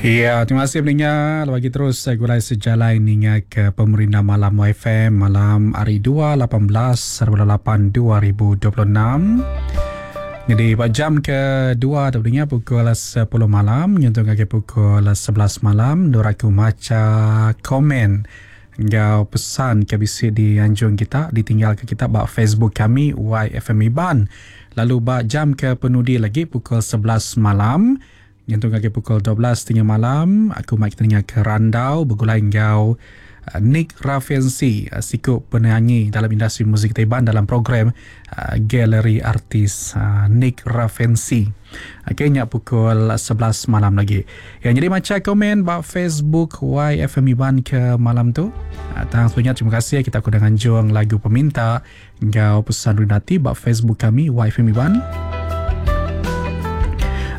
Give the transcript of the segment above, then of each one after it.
Ya, terima kasih pendengar. Lagi terus saya gulai sejalai ninga ke pemerintah malam YFM malam hari 2 18 8 2026. Jadi pada jam ke-2 tu pendengar pukul 10 malam nyentuh ngagai pukul 11 malam nuraku macha komen enggau pesan ke bisi dianjung kita ditinggalka kita ba Facebook kami YFM Iban. Lalu ba jam ke penudi lagi pukul 11 malam Nyentuk ngagai pukul 12 tengah malam, aku mai kita ninga ke randau begulai enggau Nick Raffensi, siku penyanyi dalam industri muzik kitai Iban dalam program Galeri Artis Nick Raffensi. Okey nya pukul 11 malam lagi. Ya nyadi macha komen ba Facebook YFM Iban ke malam tu. Tang sebenarnya terima kasih kita ku nganjung lagu peminta Enggau pesan Rinati ba Facebook kami YFM Iban.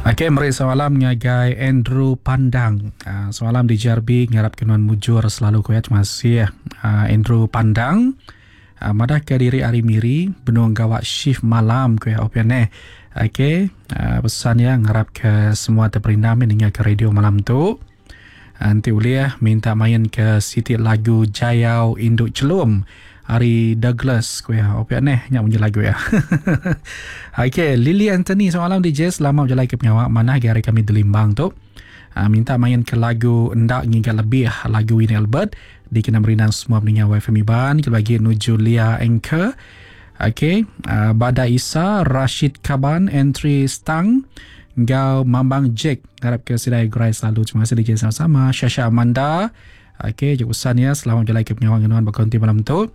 Okey, meri semalam ngagai Andrew Pandang. Uh, semalam di JRB ngarap ke nuan mujur selalu ko ya. Terima kasih Andrew Pandang. Uh, madah ke diri hari Miri benung gawak shift malam ko ya open eh. Okey, uh, pesan ya ngarap ke semua terperindam ninga ke radio malam tu. Enti ulih minta main ke siti lagu Jayau Indu Chelum ari Douglas ku iya. Opia neh nya munyi lagu iya. Okey, Lily Anthony semalam DJ selama bejalai ke pengawa manah agi hari kami di Limbang tu. Uh, minta main ke lagu Enda Ngiga Lebih lagu Winnie Albert dikena merindang semua peninga YFM Iban kelebih agi nuju Lia Anchor. Okey, uh, Bada Isa, Rashid Kaban, Entry Stang enggau Mambang Jack ngarap ke sidai gerai selalu. Terima kasih DJ sama-sama. Shasha Amanda. Okey, jauh pesan ya. Selamat berjalan ke pengawal ngenuan berkonti malam tu.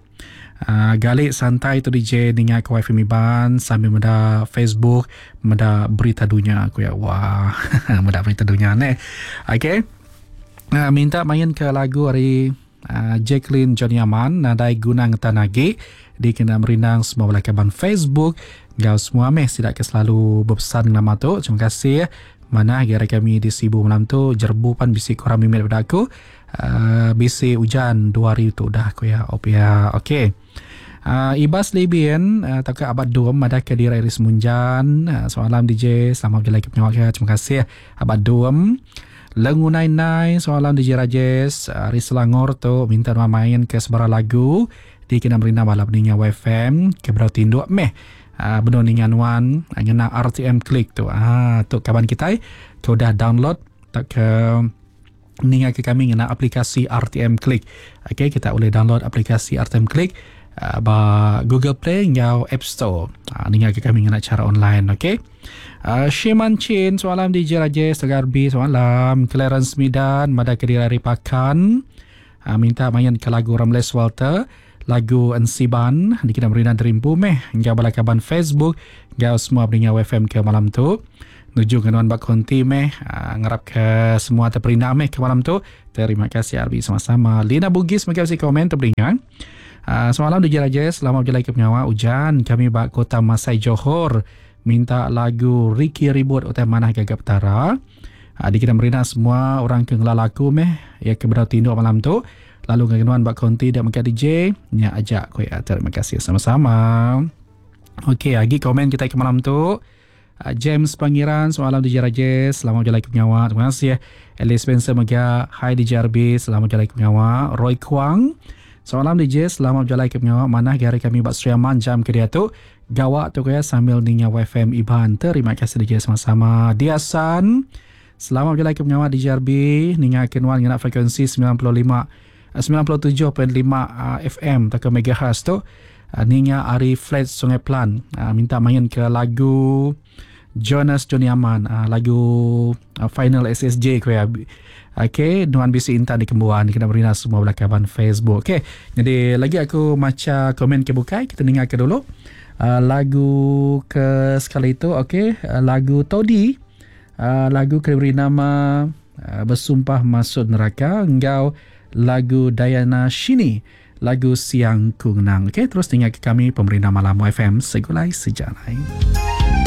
Galik santai tu DJ ninga ke wifi Miban sambil meda Facebook, meda berita dunia aku ya. Wah, meda berita dunia ne. Okey. Minta main ke lagu hari Jacqueline Johnny Aman nadai guna ngetan agi dikena merindang semua bala kaban Facebook enggau semua meh sida ke selalu bepesan ngelama tu. Terima kasih. Manah agi hari kami di Sibu malam tu jerebu pan bisi kurang mimit daripada aku. Bisi ujan 2 hari tu udah aku ya. Op ya. Okey. Ibas Libin tauka Abad Dum madah ke diri ari Semunjan. Selamat malam DJ. Selamat berjalai ke pengawa ke. Terima kasih Abad Dum. Lengu Nai Nai, semalam DJ Rajes ari Selangor tu minta nuan main ke sebarang lagu dikena merindang bala peninga YFM ke bedau tinduk meh uh, benung ninga nuan ngena RTM Click tu. Ah tu kaban kitai ke udah download tauka ninga ke kami ngena aplikasi RTM Click. Okey kita boleh download aplikasi RTM Click ba Google Play enggau App Store. Ninga ke kami ngena cara online okey. Shiman Chin semalam DJ Rajesh Tegarbi semalam Clarence Midan madah ke diri ari Pakan minta main ke lagu Ramles Walter lagu Ensiban dikena merindang terimpu meh enggau bala kaban Facebook enggau semua peninga WFM ke malam tu nuju ke nuan ba konti meh ngarap ke semua terperindang meh ke malam tu. Terima kasih RB sama-sama. Lina Bugis mega bisi komen tu peninga. Semalam DJ Rajesh selamat berjalai ke pengawa ujan kami ba Kota Masai Johor minta lagu Ricky Ribut utai manah gaga Petara. Dikena merina semua orang ke ngelala aku meh ya ke bedau tinduk malam tu lalu ngagai nuan ba konti da mega DJ nya aja ku iya. Terima kasih sama-sama. Okey agi komen kita ke malam tu. James Pangiran semalam DJ Rajesh selamat berjalai ke pengawa. Terima kasih. Alice Spencer mega hi DJ RB selamat berjalai ke pengawa. Roy Kuang semalam DJ selamat berjalai ke pengawa manah gari kami ba Sri Aman jam ke diatu. Gawa tu kaya sambil ninga YFM Iban. Terima kasih DJ sama-sama. Diasan selamat berjalai ke pengawa DJ RB ninga ke nuan ngena frekuensi 95 97.5 FM atau megahertz tu. Ninga ari flat Sungai Plan minta main ke lagu Jonas Johnny Aman lagu Final SSJ ko ya. Okey, nuan bisi intan di kembuan kena berina semua bala kaban Facebook. Okey, jadi lagi aku maca komen ke bukai kita dengar ke dulu. Lagu ke sekali tu okey, lagu Todi, lagu ke beri nama Bersumpah Masuk Neraka enggau lagu Diana Shini lagu Siang Ku Ngenang. Okey, terus dengar ke kami Pemerintah Malam FM Segulai Sejalai.